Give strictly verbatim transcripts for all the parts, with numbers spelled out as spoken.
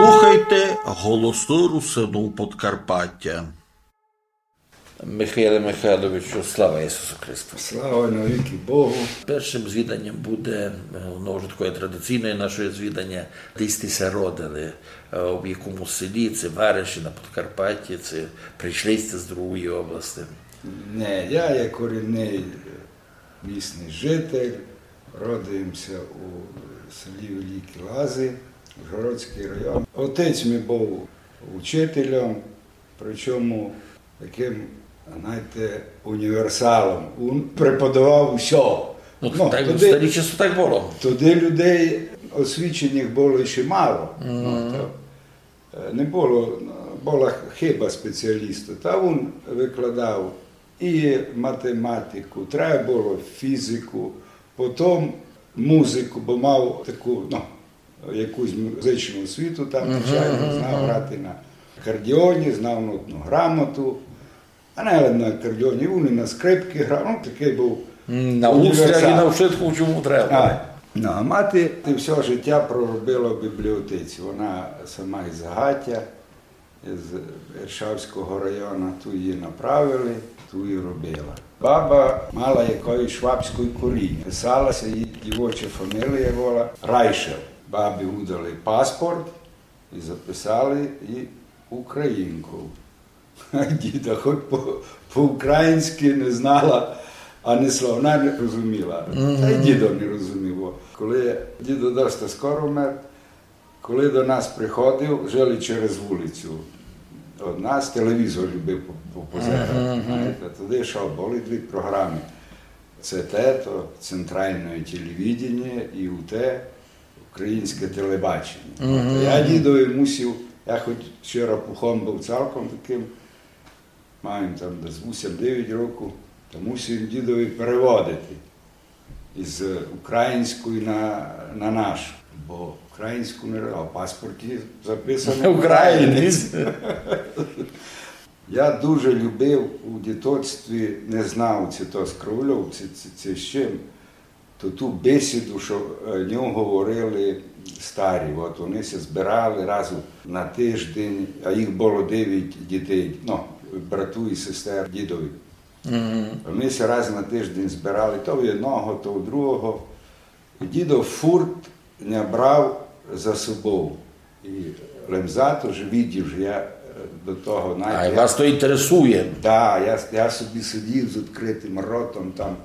Слухайте Голосы Русинув Подкарпатя. Михайле Михайловичу, слава Ісусу Христу! Слава навікы Богу! Першым звіданьом буде, е, воно вже такоє традиційноє нашоє звіданя, де сьте ся родили, е, в якому селі, ци вариші на Подкарпатю, ци прийшли сьте з другої области. Не, я є корінный місный житель, родив ся у селі Великі Лазы, Ужгородськый район. Отець мій быв учителем, причому такым, знаєте, універсалом. Він преподавав усьо. Ну, так, тоді, в старі часы так было. Тоді людей освіченых было ще мало. Ну, то, е, не было, была хыба спеціаліста. Та він викладав і математику, треба было фізику, потім музику, бо мав таку, ну, якусь музичну освіту там, звичайно, знав грати на акордеоні, знав нотну грамоту. А не лише на акордеоні, він і на скрипці грав, ну, такый быв універсал. На гуслях і на вшытку, чому треба. А, ну, а мати всьо життя проробила в бібліотеці. Вона сама із Загатя, з Іршавського району, ту її направили, ту і робила. Баба мала якоєсь швабськоє коріння. Писала ся, її дівоча фамілія была Райшел. Бабі выдали паспорт і записали її українков. А діда хоть по, по-українськы не знала, ані слова не розуміла. Та й дідо не розумів. Коли дідо доста скоро вмер, коли до нас приходив, жили через вулицю од нас, телевізор любив по-, по-, позирати, знаєте, туды йшов, были дві програмы. Це те, то центральне телевидение і у те українське телебачення. От, я дідові мусив, я хоть ще рапухом быв цілком такым, мав им там десь вісім-девять років, та мусив им дідові переводити із української на, на нашу. Бо українську не, а в паспорті записано українець. Я дуже любив у дітоцтві, не знав, ци то з Кровльов, ци, ци, ци з чим, то ту бесіду, што, е, о ньому говорили старі. От вони ся збирали раз у, на тиждень, а їх было девять дітей, ну, брату і сестер дідові. Вони ся раз на тиждень збирали, то в одного, то в другого. І дідо фурт ня брав за собов. І лем за то, же видів, же я, е, до того, знаєте, а вас то інтересує. Да, я, я собі сидів з відкритым ротом, там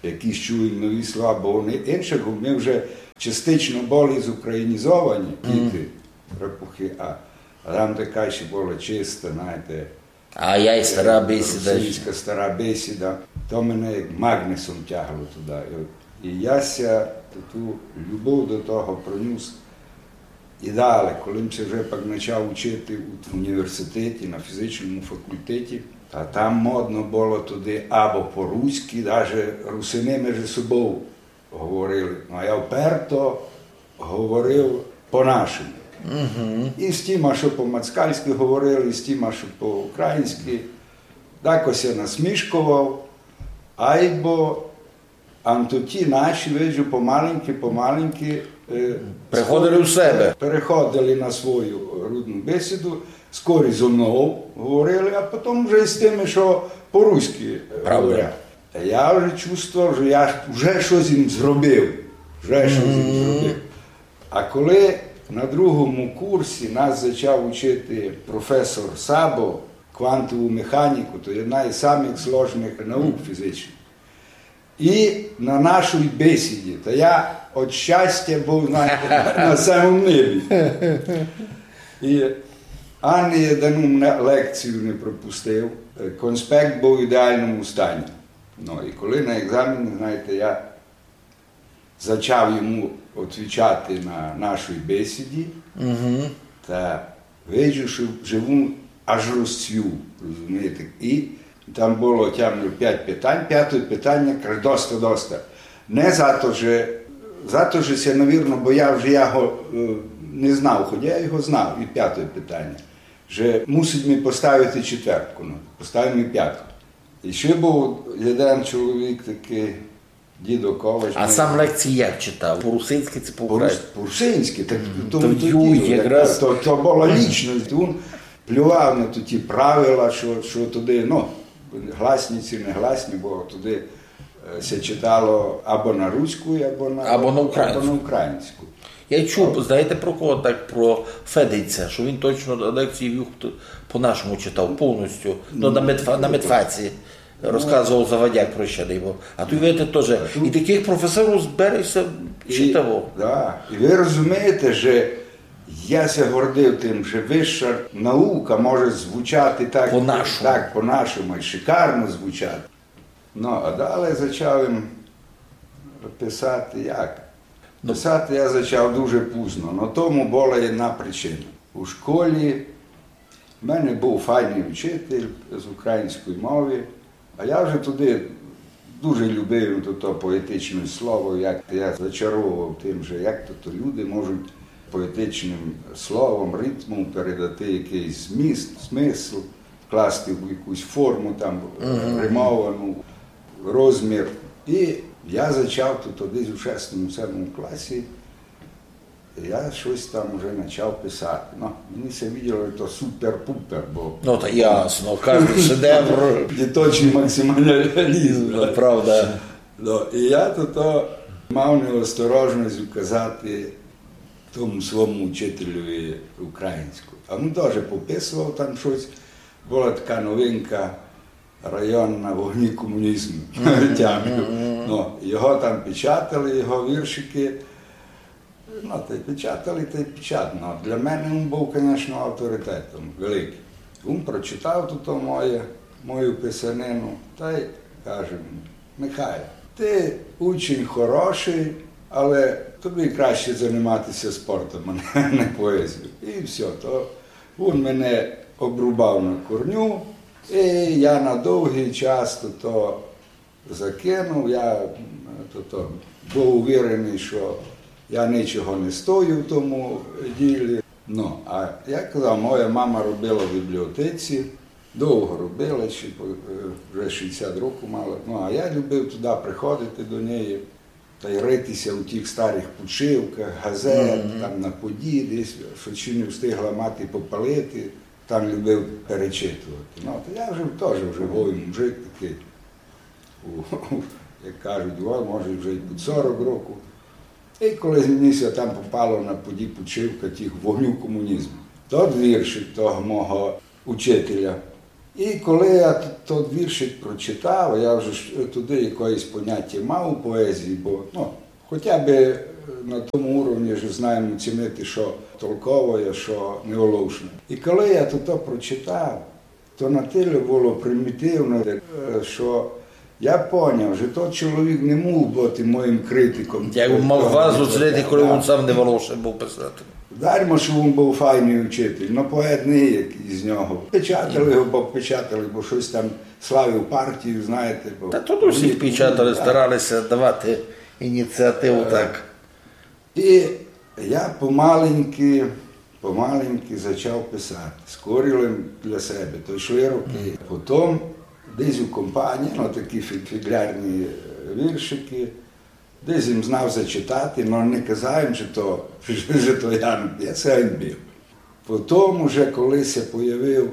якісь чув им нові слова, бо вони іншых, мы вже частично были зукраїнізовані, діти, рапухи, а, а там така ще была чиста, знаєте, А я й стара бесіда. Русинська стара бесіда. То мене як магнісом тягло туды. І, і я ся ту, ту любов до того пронюс і дале. Коли м ся вже пак почав учити у університеті, на фізичному факультеті, та там модно было туды або по-руськи, даже русины межи собов говорили. Ну, а я вперто говорив по-нашому. І з тіма, што по-москальськи говорили, і з тіма, што по-українськи, дакось я насмішковав, айбо ам то ті наші, виджу, помаленьки, помаленьки, е, приходили в себе, переходили на свою рудну бесіду, скорі зо мнов говорили, а потім вже і з тыми, што по-руськи, е, говорять. Та я вже чувствовав, што я вже штось їм зробив. Вже штось їм зробив. А коли на другому курсі нас зачав учити професор Сабо квантову механіку, то єдна із самых сложных наук фізичных. І на нашій бесіді, та я од щастя быв, знаєте, на, на самому небі. І ані єдну м-, лекцію не пропустив, е, конспект быв в ідеальному стані. Ну, і коли на екзамені, знаєте, я зачав йому отвічати на нашій бесіді, та виджу, што, же вун аж розцвів, розумієте. І там было тямлю пять питань, пяте питаня, каже: «Доста, доста». Не за то, же, за то, же ся, навірно, бояв, же я го, е, не знав, хоть я його знав, і пяте питаня, же мусить ми поставити четвертку, ну, поставив ми пятку. І ще быв єден чоловік такый, Дідо Ковач. А сам лекції як читав? По-русинськи ци по-українськи? По-рус-, по-русинськи, так тому то юй діло, якраз. То, то была лічность. Він плював на ті правила, што, што туды, ну, гласні ци не гласні, бо туды, е, ся читало або на руську, або на, або на українську. Я чув, знаєте, про кого так, про Федиця, што він точно лекції вів по-нашому читав, повністю. Ну, на медфа-, на медфаці. Розказовав Завадяк про ще, дай Бог. А туй, видите, тоже. І такых професорів збере ся читаво. Да. І вы розумієте, же я ся гордив тым, же выша наука може звучати так, так, по-нашому, і шикарно звучати. Ну, а далі зачав им писати як? Писати я зачав дуже пізно, но тому была єдна причина. У школі в мене быв файный учитель з української мови, а я вже туды дуже любив то, то поетичне слово, як я зачаровував тым, же як то, то люди можуть поетичным словом, ритмом передати якыйсь зміст, смысл, вкласти в якусь форму там, е, римовану, розмір. І я зачав то, то десь у шестому, сьомому класі. Я штось там уже почав писати. Ну, мені ся виділо, што то супер-пупер, бо... Ну, та ясно, кожный шедевр. Діточный максималізм. Ну, правда. Ну, і я то, то мав неосторожность указати тому свому учителеві українську. А він тоже пописував там штось. Была така новинка районна «В огні комунізму». Тямлю. Ну, його там печатали, його віршикы. Ну, тай печатали, тай печатали. Ну, для мене він быв, конечно, авторитетом великым. Він прочитав ту, то моє, мою писанину, тай каже мені: «Михайле, ты учень хорошый, але тобі краще занимати ся спортом, а не, не поезією». І всьо, то він мене обрубав на корню, і я на довгый час то, то закинув. Я, м, то, то быв увереный, што я нічого не стою в тому ділі. Ну, а я казав, моя мама робила в бібліотеці, довго робила, ще по-, е, вже шістдесят років мала. Ну, а я любив туды приходити до неї тай рити ся у тых старых подшивках газет, там на поді, десь, што ще не встигла мати попалити, там любив перечитувати. Ну, то я вже тоже вже вовий мужик такый, у, як кажуть, о, може, вже й під сорок років. І коли мені ся там попало на поді подшивка тых «В огню комунізму», тот віршик того мого учителя. І коли я т-, тот віршик прочитав, я вже ж туды якоєсь поняття мав у поезії, бо, ну, хоча бы, е, на тому уровні ж знаєм оцінити, што толковоє, што неголошне. І коли я тото прочитав, то натілько было примітивно, е, што я поняв, што тот чоловік не міг быти моїм критиком. Як мав вас оцінити, коли він сам не волошен быв писати? Дарма, што він быв файный учитель, но поет не є, як із нього. Печатали го, бо печатали, бо штось там славив партію, знаєте, бо... Та то усіх печатали, старали ся давати ініціативу так. І я помаленьки, помаленьки зачав писати. Скорі лем для себе, то йшли роки. Потім десь у компанії, ну, такі фі-, фіґлярні, е, віршикы, десь им знав зачитати, но не казав им, што то, што то я, я ся ганьбив. Потім уже, коли ся появив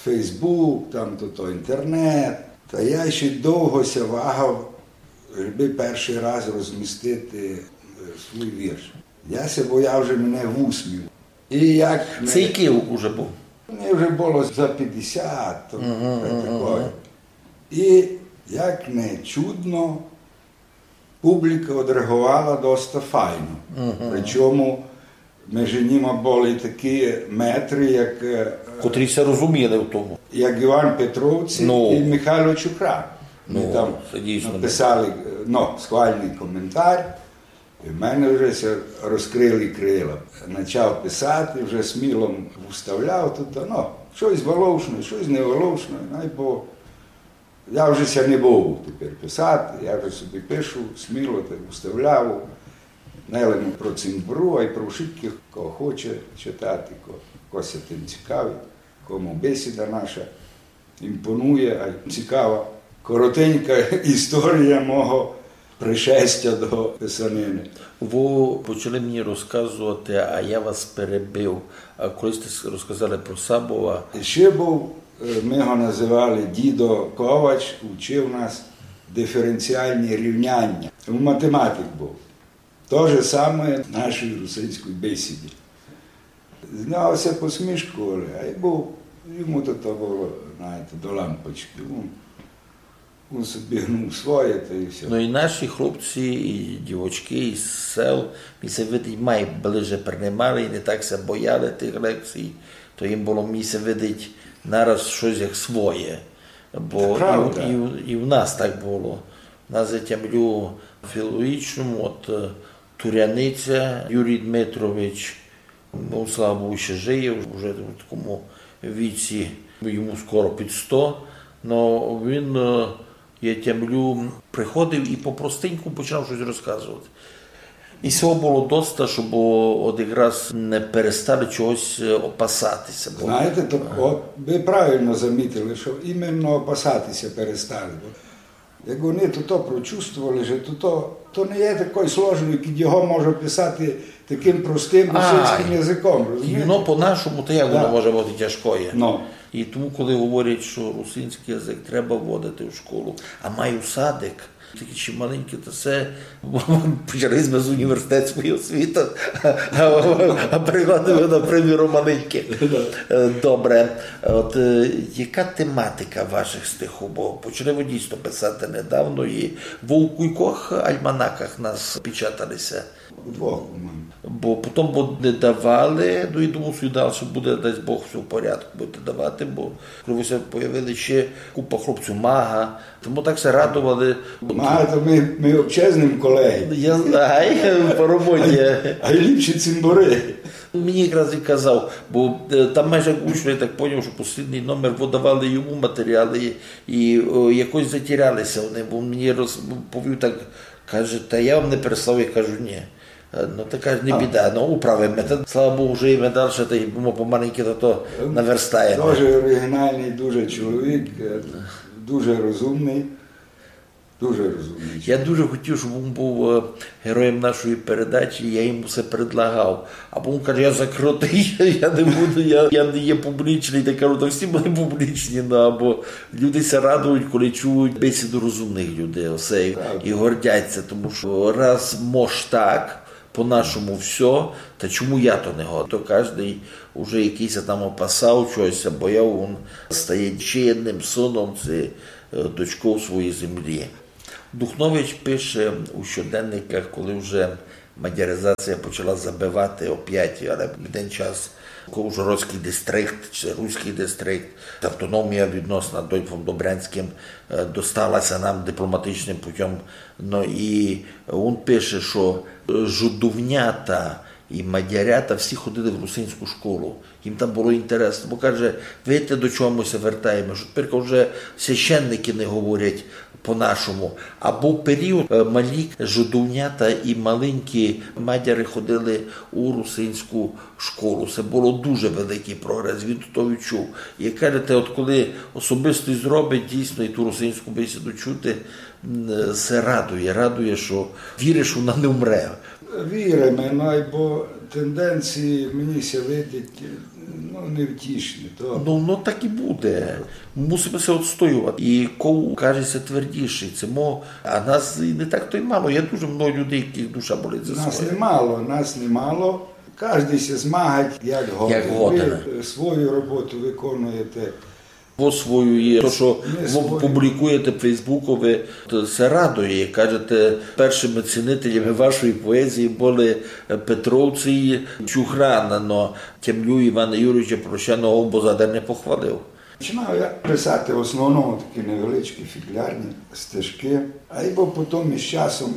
Фейсбук, там то, то інтернет, та я ще довго ся вагав, щоб першый раз розмістити, е, свій вірш. Я ся бояв, же мене высміють. І як не... Це якый уже быв? Мені вже было за пятдесят, то таке. І як не чудно, публіка одреагувала доста файно. Причому межи нима были такі метры, як, е, котрі ся розуміли в тому, як Іван Петровці і Михайло Чукрак. Вони там написали, е, ну, схвальный коментар. І в мене вже ся розкрыли крила. Начав писати, вже сміло вставляв туй, ну, штось волошне, штось не волошне, най бо я вже ся не бою тепер писати, я вже собі пишу сміло, так вставляю. Не лише про цимбору, а й про вшыткых, кого хоче читати, ко-, ко ся тым цікавить, кому бесіда наша імпонує, а й цікава. Коротенька історія мого пришестя до писанины. Вы почали мені розказовати, а я вас перебив. А коли сьте с-, розказали про Сабова? Ще быв, е, мы го называли дідо Ковач, учив нас диференціальні рівняня. Він математик быв. То же саме в нашій русинській бесіді. З нього ся посмішкували, а й быв, йому то, то было, знаєте, до лампочкы. Він, він собі гнув своє, та й всьо. Ну і наші хлопці, і дівочкы, і з сел, мені ся видить, май ближе принимали, і не так ся бояли тых лекцій, то їм было, мені ся видить, нараз штось як своє. Бо і, і, і в нас так было. У нас, я тямлю, в філологічному, от, е, Туряниця, Юрій Дмитрович, ну, слава Богу, ще жиє, вже в такому віці, йому скоро під сто. Но він, е, я тямлю, приходив і по-простеньку починав штось розказовати. І сього было доста, щоб от якраз не перестали чогось, е, опасати ся. Бо знаєте, то от вы правильно замітили, што іменно опасати ся перестали. Бо як они то, то прочувствовали, што то, то, то не є такой сложный, кідь його може писати такым простым русинськым языком, розумієте? Ну, по-нашому, то як воно може быти тяжкоє? Ну. І тому, коли говорять, што русинськый язык треба вводити в школу, а май у садик, такі ще маленькі, то се почали сьме з університетської освіти, а, а перекладемо на, приміром, маленькі. Е, добре. От, е, яка тематика вашых стихув? Бо почали вы дійсно писати недавно, і вы у кількох альманаках у нас печатали ся. У двох, по-моєму. Бо потім, бо не давали, ну, і думав, што і дальше буде, дасть Бог, всьо в порядку, будете давати, бо коли вы ся появили, ще купа хлопців, Мага, тому так ся радовали. Мага, то мы, мы вообще з ним колеги. Я знаю, по роботі. А й ліпші цімборы. Мені якраз і казав, бо, е, там майже учно, я так поняв, што послідній номер выдавали йому матеріалы і, і, о, якось затіряли ся вони, бо мені роз-, повів так, каже: «Та я вам не прислав». Я кажу: «Ні». Е, ну, така не біда, ну, управиме. Та, слава Богу, жиєме дальше, та й мы помаленьку то, то наверстаєме. Дуже оригінальный, дуже чоловік, е, дуже розумный. Дуже розумный. Я дуже хотів, щоб він був, е, героєм нашої передачі, я йому все предлагав. А він каже: «Я закрытый, я, я не буду, я, я не є публічный». Я кажу: «Та всі мы публічні», ну, або люди ся радують, коли чують бесіду розумных людей, осе, і гордять ся, тому што раз мож так, по-нашому всьо, та чому я то не годен? То каждый уже якыйсь там опасав чогось, бояв, він стає ще єдным сыном, ци, е, дочков своєї землі. Духнович пише у щоденниках, коли вже мадяризація почала забивати опять, але в один час Ужгородськый дистрикт, ци Руськый дистрикт, автономія відносна Дольфом Добрянськым, е, достала ся нам дипломатичным путём. Ну і він пише, што, е, жидовнята і мадярята всі ходили в русинську школу. Їм там было інтересно, бо, каже, видите, до чого мы ся вертаєме, што тепер уже священники не говорять по-нашому. А быв період, е, малі жидовнята і маленькі мадяри ходили у русинську школу. Се было дуже великый прогрес, він то відчув. І, як кажете, от коли особистый зробить дійсно і ту русинську бесіду чути, м, се радує, радує, што віриш, вона не вмре. Віриме, ну, бо тенденції, мені ся видить, ну, невтішні. То... Ну, ну, так і буде. Мусиме ся отстоювати. І ков каже ся твердішый, це мо, а нас і не так то й мало. Є дуже много людей, якых душа болить за своє. Нас немало, нас немало. Каждый ся змагать, як годен. Як годен. Вы, е, свою роботу виконуєте. По свою є. То, што вы публікуєте в Фейсбукови, то се радує. Кажете, першыми цінителями вашої поезії были, е, Петровці і Чухрана, но тямлю Івана Юрійовича Прощаного, бо за день не похвалив. Починав я писати в основному такі невеличкі фіґлярні стежкы, а й бо потім із часом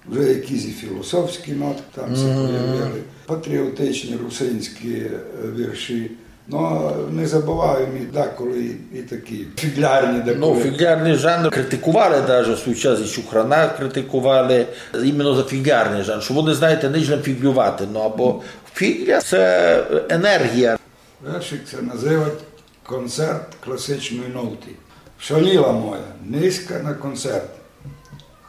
вже якісь і філософські нотки там ся появили, патріотичні русинські, е, вірші. Но не забываєме і деколи і, і такі фіґлярні деколи. Ну, фіґлярный жанр критикували даже в свій час, і Чухрана критикували, іменно за фіґлярный жанр, што вони, знаєте, не лем фіґлювати, ну, або фіґля — се енергія. Вершик ся называть «Концерт класичної ноты». Шаліла моя низька на концерт.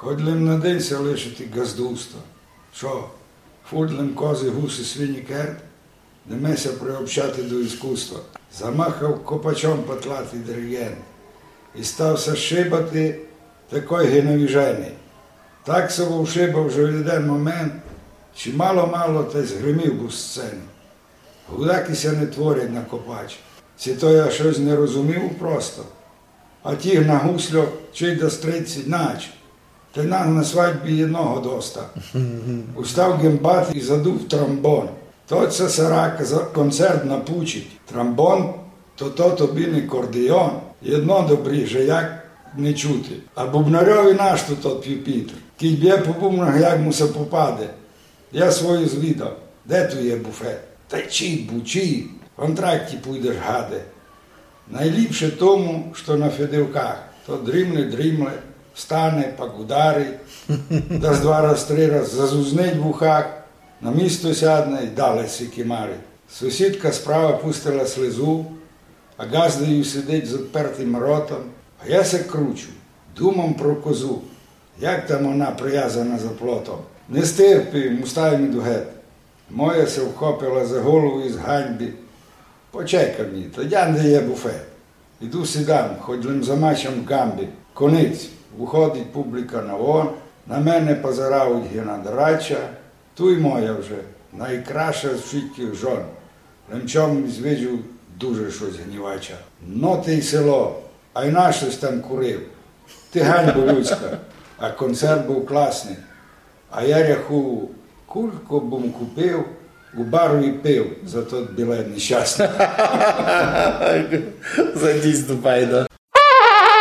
Хоть лим на день ся лишити ґаздувства. Што, фурт лим козы, гусы, свині, керт? Не ме ся приобщати до искусства. Замахав копачом патлатый диригент. И став ся шибати такой ги навіженый. Так ся вовшибав, же в єден момент, чи мало-мало, та й згримів быв з сцены. Гудакы ся не творять на копач. Ци то я штось не розумів просто. А тіх на гусльох чий да стрельці нач. Та й нас на свадьбі єдного доста. Устав ґембат и задув тромбон. Тот ся сарака за концерт напучить. Тромбон то, то тобі не кордеон. Єдно добрі, же як не чути. А бубнарьови нашто тот пюпітр? Кідь бє по бубнах, як му ся попаде. Я свою звідав: де ту є буфет? Та чий бу, чий? В антракті пуйдеш, гаде. Найліпше тому, што на федивках. То дрімле, дрімле, встане, пак ударить, дас два раз, три раз, зазузнить в ухах, на місто сядне и дале си кимарить. Сусідка справа пустила слезу, а ґаздою сидить з отпертым ротом. А я ся кручу, думам про козу, як там она привязана за плотом. Не стерпів им, устав им, іду гет. Моя ся вхопила за голову из ганьбы. Почекай ми, та дянде є буфет. Іду сідам, хоть лим замачам ґамбы. Конець. Выходить публіка на вон, на мене позирають ги на драча. Туй моя вже, найкраша з вшыткых жон. Лем чом звідав дуже штось гнівача. Но ты й село, а й на штось там курив. Ты ганьба людська, а концерт быв класный. А я ряхую, кулько бым купив, у бару и пив за тот білет нещасный. За дійсно файно.